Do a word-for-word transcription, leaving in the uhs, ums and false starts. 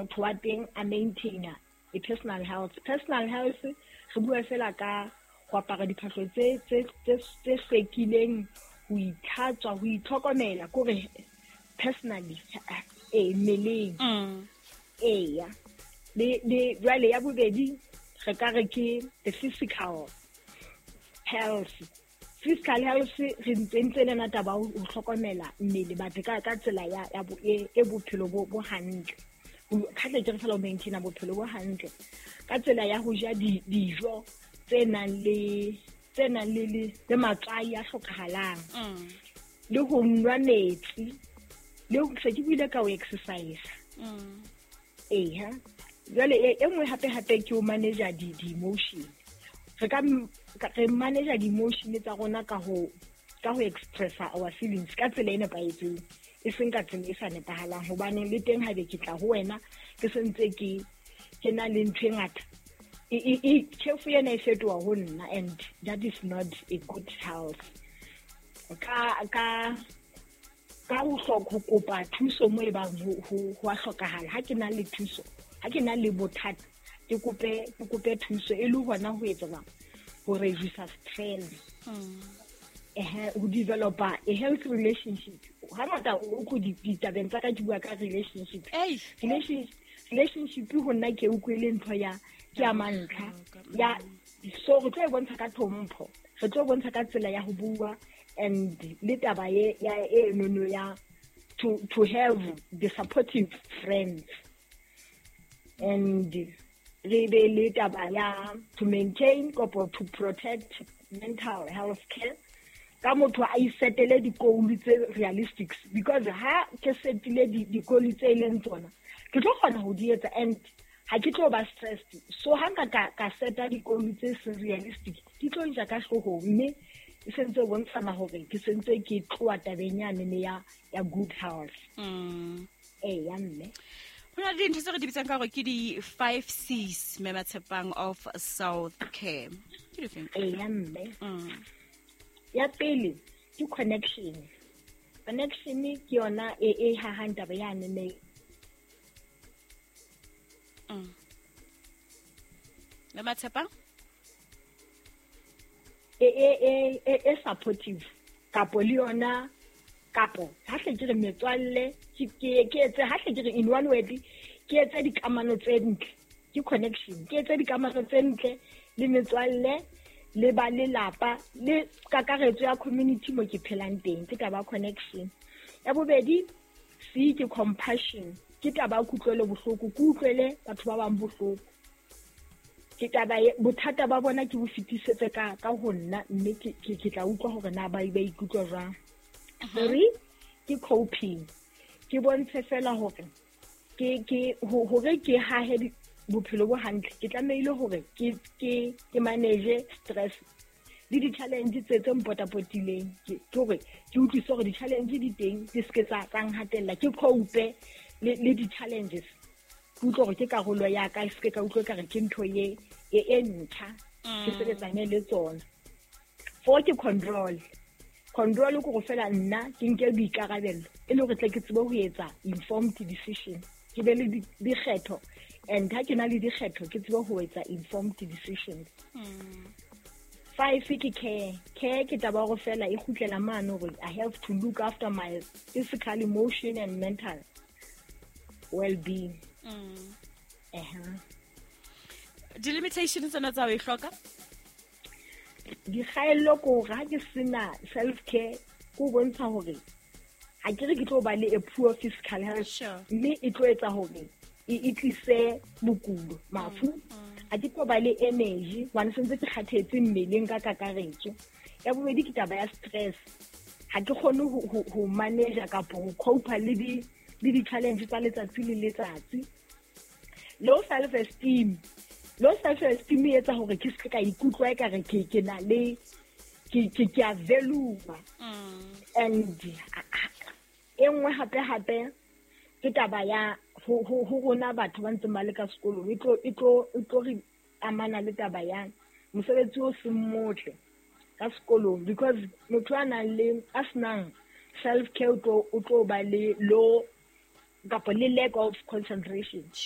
motho wa teng a maintaina a personal health. Personal health re bua fela ka go apara diphahlo tse tse tse tse hlwekileng, ho itlhatswa, ho itlhokomela, kore personally, eh mmeleng. Mm. Eya, le le jwale ya bobedi re ka re ke the physical health. Physical health re ntse ntse le na taba ho hlokomela mmele, but ka ka tsela ya ya bo e e bophelo bo bo hantle. Ka tle ke re fela o maintaina bophelo bo hantle ka tsela ya ho ja di dijo tse nang le tse nang le le le matswai a hlokahalang, Mm. le ho nwa metsi, le ho se ke buile ka ho exercise. Mm. Eya, jwale e e nngwe hape hape ke ho manage di di-emotion. Re ka m- ka- re manage di-emotion tsa rona ka ho ka ho expressa our feelings ka tsela e nepahetseng, e seng ka tsela e sa nepahalang, hobane le teng haebe ke tla ho wena ke sentse ke ke na le ntho e ngata, e e e tjhefo ena e fetoha ho nna, and that is not a good health. Ka ka ka ho hloka ho kopa thuso mo e bang ho ho ho a hlokahala. Ha ke na le thuso, ha ke na le bothata, ke kope ke kope thuso e le hona ho etsa jwang, ho reduce stress. Mm. Ehe, ho developa a healthy relationship. Hangata o ko ditabeng tsa ka ke bua ka relationship. Ei. Relationship relationship ho nna ke utlwile ntho ya ke ya mantlha ya, so re tlo e bontsha ka tlhompho, re tlo bontsha ka tsela ya ho bua, and le taba ye ya e nono ya to to have the supportive friends, and re be le taba ya to maintain kapo to protect mental health care ka motho a isetele di-goal tse realistic, because ha ke setile di-goal tse e leng tsona, ke tlo kgona ho di etsa and ha ke tlo ba stressed. So ha nka ka ka seta di-goal tse seng realistic, di tlo nja ka hloohong, mme e sentse e bontshana hore ke sentse ke tloha tabeng yane ya ya good health. Mm. Eya mme. Ho na le dintho tse re di bitsang ka hore ke di-five C's, mme Matshepang, of self care, ke difeng? Eya mme. Mm. Ya pele ke connection. Connection ke yona e e hahang taba yane ne. Mm. Mme Matshepang? E e e e e supportive kapo le yona, kapo ha hle ke re metswalle, ke ke ke etse, ha hle ke re in one word, ke etse dikamano tse ntle, ke connection, ke etse dikamano tse ntle le metswalle le ba lelapa le kakaretso ya community mo ke phelang teng, ke taba ya connection. Ya bobedi, C ke compassion, ke taba ya kutlwelo bohloko, ke utlwele batho ba bang bohloko, ke taba e bothata ba bona ke bo fetisetse ka ka ho nna, mme ke ke ke tla utlwa hore na ba ba ikutlwa jwang. Three ke coping, ke bontshe fela hore ke ke ho hore ke hahe di bophelo bo hantle, ke tlamehile hore ke ke ke manage stress le di-challenge tse tse mpotapotileng, ke ke hore ke utlwisise hore di-challenge di teng, di seke tsa tsa nhatella, ke cope le le di-challenges, ke utlwe hore ke karolo ya ka, e seke ka utlwa ekare ke ntho ye e e ntjha, ke Mm. sebetsane le tsona. Four ke control. Control ke hore fela nna ke nke boikarabelo e le hore tle ke tsebe ho etsa informed decision, ke be le di- dikgetho, and ha ke na le dikgetho ke tsebe ho etsa informed decisions. Mm. Five ke care. Care ke taba ya hore fela e kgutlela mane hore I have to look after my physical, emotion and mental well-being. Mm. Ehe. Di-limitation tsena tsa ho e hloka? Dikgaello ke hore ha ke sena self care, ke ho bontsha hore ha ke re ke tlo ba le a poor physical health, Sure. mme e tlo etsa hore e e tlise bokulo, mafu. Ha ke tlo ba le energy hobane sentse ke kgathetse mmeleng ka kakaretso. Ya bobedi ke taba ya stress, ha ke kgone ho ho ho manage kapo ho cope le di le di-challenge tsa letsatsi le letsatsi. Low self esteem, low self esteem e etsa hore ke se ka ikutlwa ekare ke ke na le ke ke ke a value. Mm. And e nngwe hape hape ke taba ya ho ho ho rona batho ba ntseng ba le ka sekolong, e tlo e tlo e tlo re amana le taba ya mosebetsi o seng motle ka sekolong, because motho a nang le a senang self care o tlo o tlo ba le low kapa le lack of concentration.